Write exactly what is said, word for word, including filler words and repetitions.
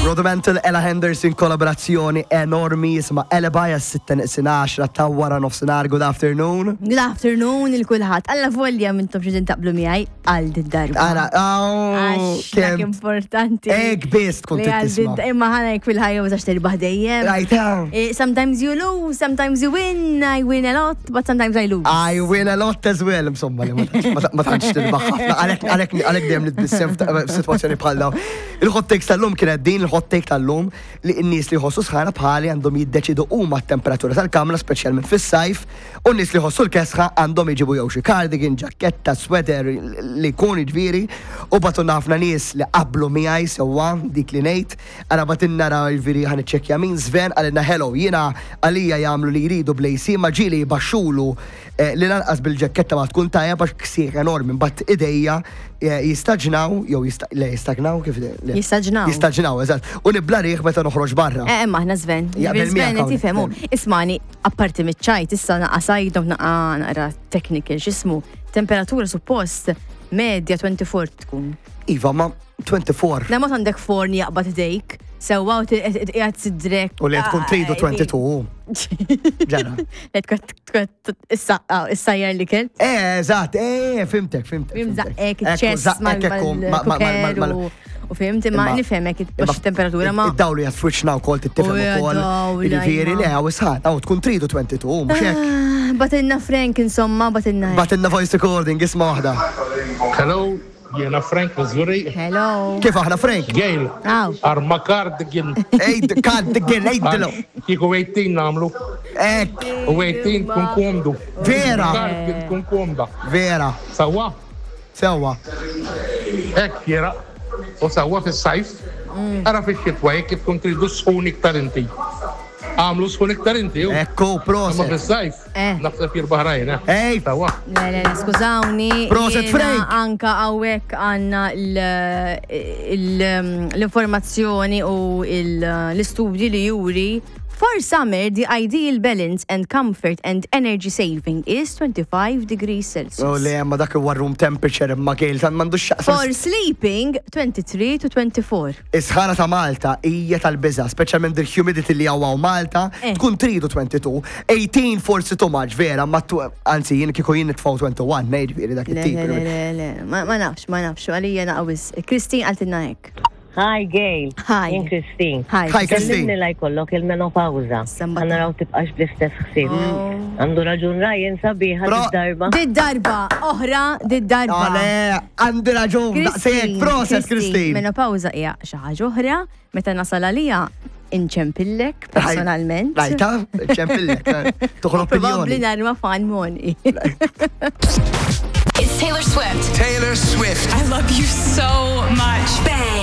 Rudimental, Ella Henderson, kollaborazzjoni enormi jisimha Alibi, għas-sitta neqsin għaxra ta' wara nofsinhar. Good afternoon. Good afternoon lil kulħadd. Alla volja mintom xi taqblu miegħi għal din darba. Ara, oh, Għax dak kemm importanti. Ek biss tkun Li għal tisma'. din- Imma ħana jek fil-ħajja ma tax tirbaħ dejjem. Right, ah. Eh, Sometimes you lose, sometimes you win. I win a lot, but sometimes I lose. I win a lot as well, insomma, li ma tantx- ma tantx tirbaħ ħafna. Għalek, għalek, għalek dejjem nitbissem f'sitwazzjoni bħal dawn. Il-hot takes tal-lum kienet din, il-hot take tal-lum li n-nies li jħossu sħana bħali għandhom jiddeċidu huma t-temperatura tal-kamra, speċjalment fis-sajf, u n-nies li jħossu l-kesħa għandhom jġibu jew xi cardigan, ġaketta, sweater li jkun jiġifieri, u bagħtulna ħafna nies li qablu miegħi sewwa dik li ngħid. Ara bagħtilna ra jiġifieri ħa niċċekkja min. Sven qalilna: "Hello, jiena għalija jagħmlu li jridu bl-A C ma ġieli baxxulu eh, li lanqas bil-ġaketta ma tkun tajja għax ksieħ enormi, mbagħad idejja eh, jistaġnaw jew jista' le jistagnaw kif le? Jistaġnaw. Jistaġnaw, eżatt. U nibla riħ meta noħroġ barra." Eh, imma aħna Sven. Jaqbel Sven miegħek qed hawnhekk, jifhemu. Sven. Ismani, apparti miċ-ċajt, issa naqa sajdom naqa naqra technical, x'ismu, temperatura suppost medja twenty-four tkun. Iva, ma twenty-four. La ma għandek forn jaqbad idejk, sewwa u qiegħed sidrek. U li tkun tridu twenty-two. Ġara. Li tkun tkun issajjar l-ikel. Eh, eżatt, eh, fhimtek, fhimtek. Fim fhimtek. zaqqek Ekku, ċess zaqqek ekku, ma- ma- ma- ma- ma- u fhimt imma nifhmek biex temperatura ma. Id-dawlu jgħat f'wiċċna wkoll tittifhem U ja, ukoll. dawl, Jiġifieri ajma. le hawn isħan, hawn tkun tridu twenty-two, mhux hekk. Ah, Bagħtilna Frank insomma, bagħtilna. Bagħtilna voice recording, isma' waħda. Hello, jiena Frank Missouri. Hello. Kif aħna, Frank? Gail, Aw. arma cardigan. Ej, cardigan, ejdlu. Kieku eighteen nagħmlu. Ek, U eighteen tkun komdu. Vera. Cardigan tkun komda. Vera, Sewwa, sewwa. hekk jera. U sewwa fis-sajf. Ara fix-xitwa jekk tkun tridu sħun iktar inti. Għamlu sħun iktar inti. u. Ekku, Imma proset. fis-sajf, Eh. naħseb jirbaħ rajna. Ej, Sewwa. Le, le, le, skużawni. Proset, Jiena Frank. Anka hawnhekk għandna l- il- l-informazzjoni u il- l-istudji li juri. For summer, the ideal balance and comfort and energy saving is twenty-five degrees Celsius. U le, ma dak huwa room temperature imma Gail, tan m'għandux x'jaqsam. For sleeping, twenty-three to twenty-four. Is-sħana ta' Malta hija tal-biża, speċjalment il-humidity li hawn Malta, Eh. tkun tridu twenty-two, eighteen forsi too much, vera, ma tu, anzi jien kieku jien nitfgħu twenty-one, ngħid ġifieri dak Le, it-tip. le, le, le, le, ma ma nafx, ma nafx, għalija naqawis. Christine qaltilna hekk. Hi Gail. Hi. Jien Christine. Hi. Hi, Christine. Kellimni la jkollok il-menopawza. Samba. Ħa naraw tibqax bl-istess ħsieb. Oh. Għandu raġun Ryan sabiħa Pro- darba. Did darba, oħra, did darba. Ale, għandi raġun, daqshekk, proset Christine. Menopawza hija xi ħaġa oħra, meta nasal għalija inċempillek personalment. Rajta, ċempillek, toħroq Probabbli opinjoni. narma fan moni. It's Taylor Swift. Taylor Swift. I love you so much. Bang.